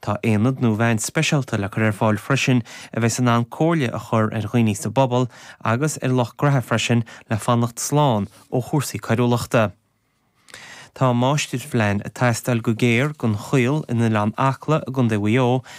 Tá aonad nó veain speisialta le cur ar fáil freisin a bheas in ann comhairle a chur ar dhaoine sa bpobal agus ar lucht graithe freisin le fanacht slán ó chúrsaí coiriúlachta. Tá máistirphlean ag teastáil go géar don Choill in Oileán Acla i gContae Mhaigh Eo.